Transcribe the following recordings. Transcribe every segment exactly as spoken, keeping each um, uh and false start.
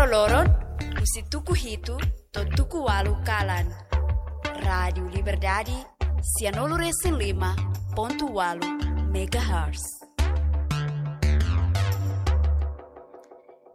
Loron, husi tuku hitu to'o tuku ualu kalan. Rádiu Liberdade, sianulu resin lima pontu ualu megahertz.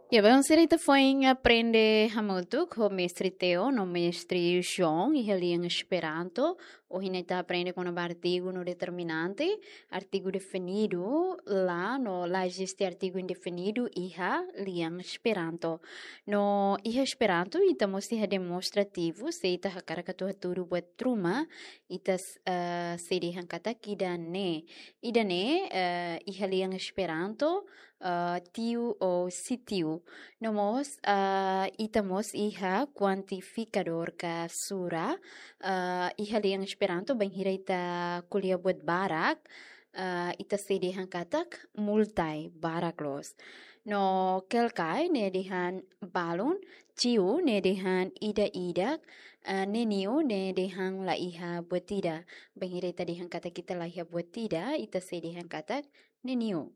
Ya, bem, sira ita foin aprende hamutuk ho Mestre Theo no Mestre João iha lian Esperanto. Ohin ita aprende kona-ba artigu no determinante, artigu definidu la, no la eziste artigu indefinidu iha lian Esperanto. No iha Esperanto, ita mós iha demonstrativu, se ita hakarak atu hatudu buat ruma, ita s-, eh, sei dehan katak ida-ne'e. Ida-ne'e, eh, iha lian Esperanto, eh, tiu ou sitiu. No mós, eh, ita mós iha kuantifikadór ka sura, eh, iha lian Esperanto, bainhira ita ko'alia buat barak, eh, ita sei dehan katak multai, barak loos. No kelkai ne'e dehan balun, tiu ne'e dehan ida-idak, eh, neniu ne'e dehan la iha buat ida. Bainhira ita dehan katak ita la iha buat ida, ita sei dehan katak neniu.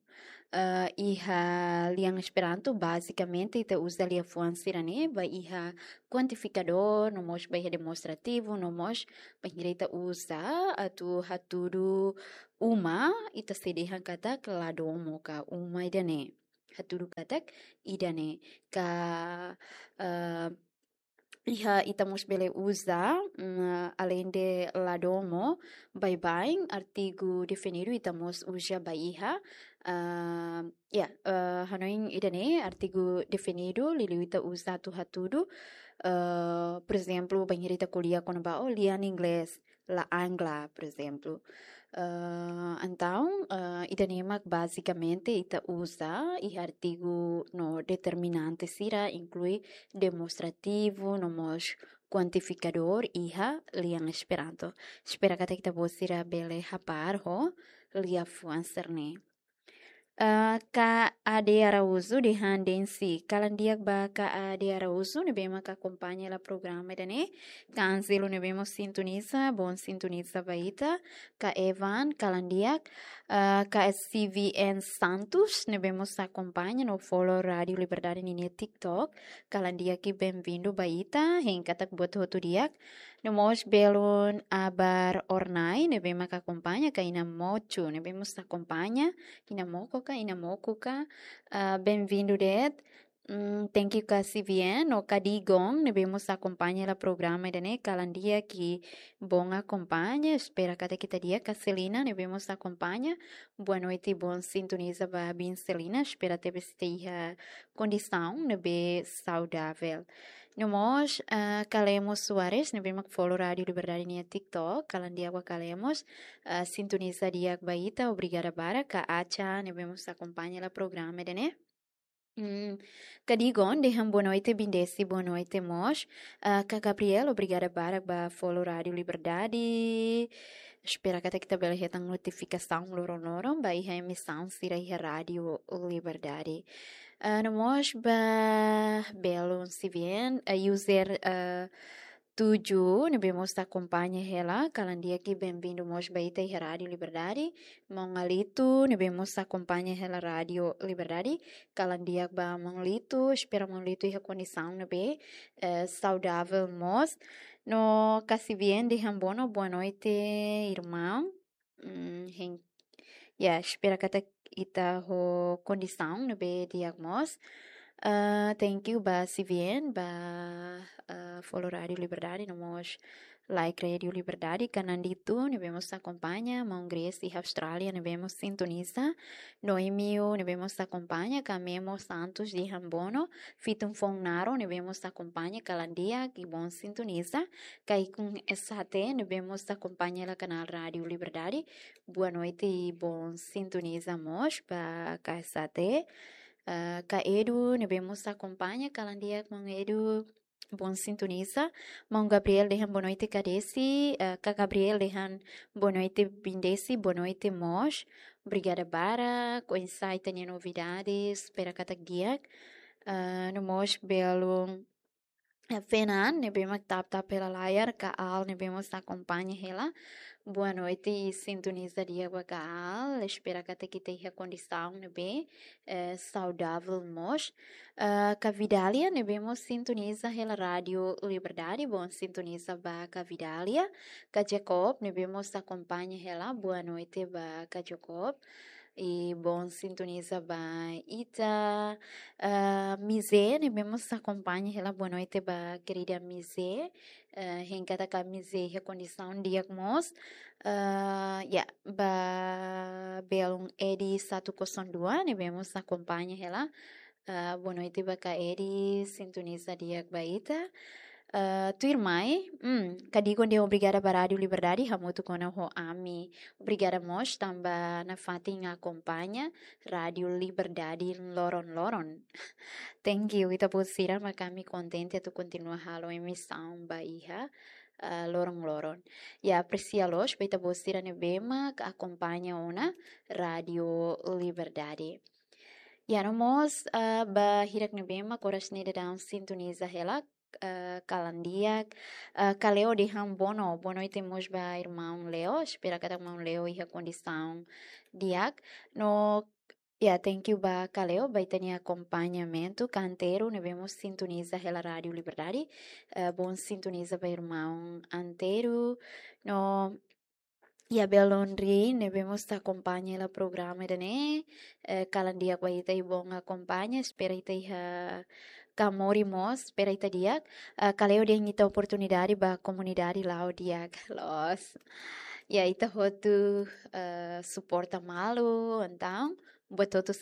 Eh, iha lian Esperanto, bazikamente, ita uza liafuan sira-ne'e ba iha kuantifikadór, no mós ba iha demonstrativu, no mós bainhira ita uza atu hatudu uma, ita sei dehan katak la domo ka uma ida-ne'e. Hatudu katak ida-ne'e. Ka, eh, iha ita mós bele uza, mm, alende la domo, baibain, artigu definidu ita mós uza ba iha, eh, ya, eh, hanoin ida-ne'e, artigu definidu, liuliu ita uza atu hatudu, eh, por ezemplu, bainhira ita ko'alia kona-ba, oh, lian inglés, la angla, por ezemplu. Eh, entaun, eh, ida-ne'e mak bazikamente ita uza iha artigu no determinante sira, inklui demonstrativu, no mós kuantifikadór iha lian Esperanto. Espera katak ita-boot sira bele hapar ho liafuan sira-ne'e. Eh, Ka Ade Araújo dehan densi. Kalan di'ak ba Ka Ade Araújo, ne'ebé mak akompaña hela programa ida-ne'e. Ka Anzelo ne'ebé mós sintoniza, bon sintoniza ba ita. Ka Evan, kalan di'ak. Eh, Ka S V N Santos, ne'ebé mós akompaña no follow Rádiu Liberdade ninia TikTok. Kalan di'ak i benvindu ba ita, hein katak buat hotu di'ak. No mós belun Abar Ornai, ne'ebé mak akompaña, Ka Ina Mochu, ne'ebé mós akompaña, Ina Moko ka, Ina Moku ka, ah, benvindu de'it. Mm, thank you Ka Sivien, no Ka Digon, ne'ebé mós akompaña hela programa ida-ne'e, kalan di'ak i bon akompaña, espera katak ita di'ak. Ka Selina, ne'ebé mós akompaña, boa noite, bon sintoniza ba biin Selina, espera tebes ita iha kondisaun ne'ebé saudável. No mós, ah, Ka Lemos Soares, ne'ebé mak follow Rádiu Liberdade nia TikTok, kalan di'ak ba Ka Lemos, ah, sintoniza di'ak ba ita, obrigada barak, Ka Acha, ne'ebé mós akompaña hela programa ida-ne'e. Hmm, Ka Digon, dehan boa noite, biin Desi, boa noite mós. Ah, Ka Gabriel, obrigada barak ba follow Rádiu Liberdade. Espera katak ita bele hetan notifikasaun loron-loron ba iha emisaun sira iha Rádiu Liberdade. Ah, no mós ba belun Sivien, ah, user, ah, tujuh, ne'ebé mós akompaña hela, kalan di'ak i benvindu mós ba ita iha Rádiu Liberdade. Maun Alito, ne'ebé mós akompaña hela Rádiu Liberdade, kalan di'ak ba Maun Lito, espera Maun Lito iha kondisaun ne'ebé, eh, saudável mós. No Ka Sivien dehan bono, boa noite, irmaun. Mm, hein, ya, espera katak ita ho kondisaun ne'ebé di'ak mós. Ah, thank you ba Sivien, ba, ah, follow Rádiu Liberdade, no mós like Rádiu Liberdade, Ka Nandito, ne'ebé mós akompaña, Maun Grace iha Austrália, ne'ebé mós sintoniza, Noemio, ne'ebé mós akompaña, Ka Memo Santos dehan bono, Fitun Fon Naro, ne'ebé mós akompaña, kalan di'ak i bon sintoniza, Ka Ikun S H T, ne'ebé mós akompaña hela kanál Rádiu Liberdade, boa noite i bon sintoniza mós ba Ka S H T. Ah, Ka Edu, ne'ebé mós akompaña, kalan di'ak Maun Edu, bon sintoniza. Maun Gabriel dehan boa noite, Ka Desi, ah, Ka Gabriel dehan boa noite, biin Desi, boa noite mós. Obrigada barak, oinsá ita-nia novidades, espera katak di'ak. Ah, no mós belun eh, Fenan, ne'ebé mak tap-tap hela layar, Kaal, ne'ebé mós akompaña hela. Boa noite, sintoniza di'ak ba Kaal. Espera katak ita iha kondisaun ne'ebé, eh, saudavel mós. Eh, Ka Vidália, ne'ebé mós sintoniza hela Rádiu Liberdade, boa sintoniza ba Ka Vidália. Ka Jacob, ne'ebé mós akompaña hela, boa noite ba Ka Jacob. I boa sintoniza ba ita. Ah, Mizé, ne'ebé mós akompaña hela, boa noite ba kerida Mizé. Ah, hein katak Mizé iha kondisaun di'ak mós. Ah, ya, ba belun Edi satu kosong dua, ne'ebé mós akompaña hela. Ah, boa noite ba Ka Edi, sintoniza di'ak ba ita. Ah, tuirmai, hmm, Ka Digon dehan obrigada ba Rádiu Liberdade, hamutuk ona ho ami. Obrigada mós tanba nafatin akompaña Rádiu Liberdade loron-loron. Thank you, ita-boot sira, mak ami kontente atu kontinua halo emisaun ba iha, ah, loron-loron. Ya, apresia loos ba ita-boot sira ne'ebé mak akompaña ona Rádiu Liberdade. Ya, no mós, ah, ba hirak ne'ebé mak oras ne'e daudaun sintoniza hela, ah, kalan di'ak. Ah, Ka Leo dehan boa no-, boa noite mós ba irmaun Leo. Espera katak maun Leo iha kondisaun di'ak. No, ya, thank you ba Ka Leo, ba ita-nia akompañamentu. Ka Antero, ne'ebé mós sintoniza hela Rádiu Liberdade. Ah, boa sintoniza ba irmaun Antero. No, ya, belun Ri, ne'ebé mós akompaña hela programa ida-ne'e, eh, kalan di'ak ba ita i boa akompaña, espera ita iha Kamori mós, espera ita di'ak. Ah, Ka Leo dehan ita oportunidade ba komunidade la'o di'ak. Loos. Ya, ita hotu, eh, suporta malu, entaun, buat hotu